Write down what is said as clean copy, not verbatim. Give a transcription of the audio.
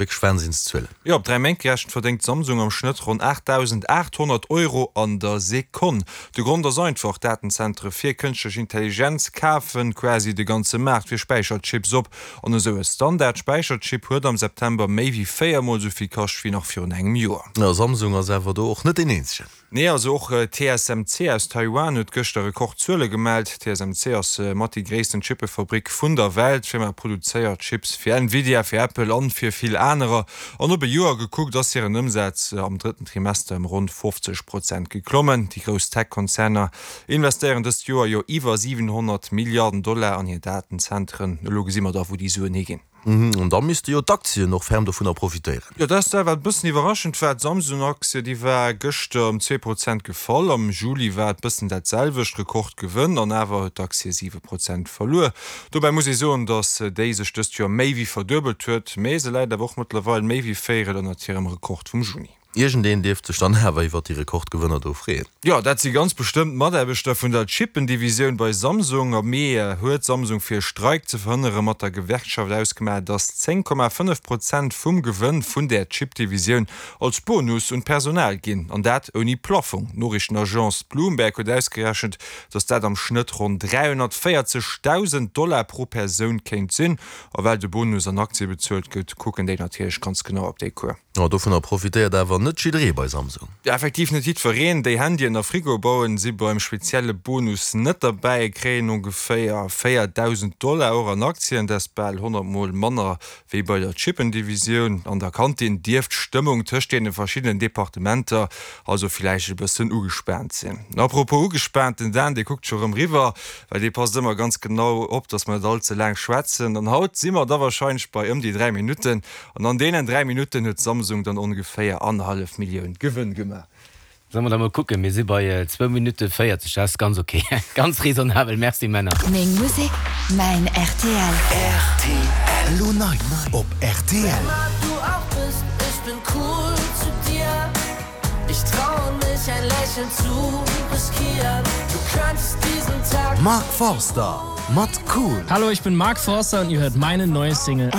Wierklech Wahnsinnszuelen. Jo, op 3 Méint gerechent verdéngt Samsung am Schnëtt ronn 8.800 Euro an der Sekonn. De Grond ass einfach, Datenzentere fir kënschtlech Intelligenz kafen quasi de ganze Maart fir Späicherchips op. An esou e Standard-Späicherchip huet am September méi wéi 4 mol esou vill kascht wéi nach virun engem Joer. Samsung ass awer do och net deen eenzegen. Nee, also och TSMC aus Taiwan huet gëschter Rekordzuele gemellt. TSMC ass mat déi gréissten Chippefabrik vun der Welt. D'Firma produzéiert Chips fir Nvidia, fir Apple an fir vill anerer. An op e Joer gekuckt ass hiren Ëmsaz am drëtten Trimester ëm ronn 50 Prozent geklommen. Déi grouss Tech-Konzerner investéieren dëst Joer jo iwwer 700 Milliarden Dollar an hir Datenzentren. Elo gesi mer da wou déi Suen higinn. An da misste jo d'Aktien och ferm dovunner profitéieren. Jo, dat ass dat, wat e bëssen iwwerraschend war. D'Samsung-Aktie, déi war gëschter ëm 2 Prozent gefall. Am Juli war et bëssen dat selwecht, Rekordgewënn, an awer huet d'Aktie 7 Prozent verluer. Dobäi muss ee soen, datt déi sech dëst Joer méi wéi verduebelt huet, mee se läit awer och mëttlerweil méi wéi Véierel ënnert hirem Rekord vum Juni. Iergendeen dierft sech dann awer iwwert déi Rekordgewënner do freeën. Jo, dat si ganz bestëmmt d'Mataarbechter vun der Chippendivisioun bei Samsung. Am Mee huet Samsung fir e Streik ze verhënnere mat der Gewerkschaft ausgemaach, datt 10,5 Prozent vum Gewënn vun där Chipdivisioun als Bonus un d'Personal ginn, an dat ouni Plaffong. D'Noriichtenagence Bloomberg huet ausgerechent, datt dat am Schnëtt ronn 340.000 Dollar pro Persoun kéint sinn. A well de Bonus an Aktie bezuelt gëtt, kucken déi natierlech ganz genau op déi Cours. Oh, dovunner profitéiert awer net jidderee bei Samsung. Effektiv net jiddwereen. Déi Handyen a Frigoe bauen, si beim spezielle Bonus net derbäi, kréien ongeféier 4.000 Dollar, och an Aktien. Dat ass bal 100 Mol manner wéi bei der Chippendivisioun. An der Kantin dierft d'Stëmmung tëscht deene verschiddenen Departementer also villäicht e bëssen ugespaant sinn. Apropos ugespaant, den Dan, dee kuckt scho rëm riwwer, well dee passt ëmmer ganz genau op, dass mer net all ze laang schwätzen. An haut si mer da warscheinlech bei ëm déi 3 Minutten. An an deenen 3 Minutten huet Samsung dann ongeféier annerhallef Millioun Gewënn gemaach. Solle mer da mol kucken, mir si bei zwou Minutte 40, dat ass ganz ok, ganz raisonnabel. Merci Männer. Meng Musek, mäin rtl. Rtl, Elo nei op rtl. Mark Forster mat Cool. Hallo, ich bin Mark Forster und ihr hört meine neue Single.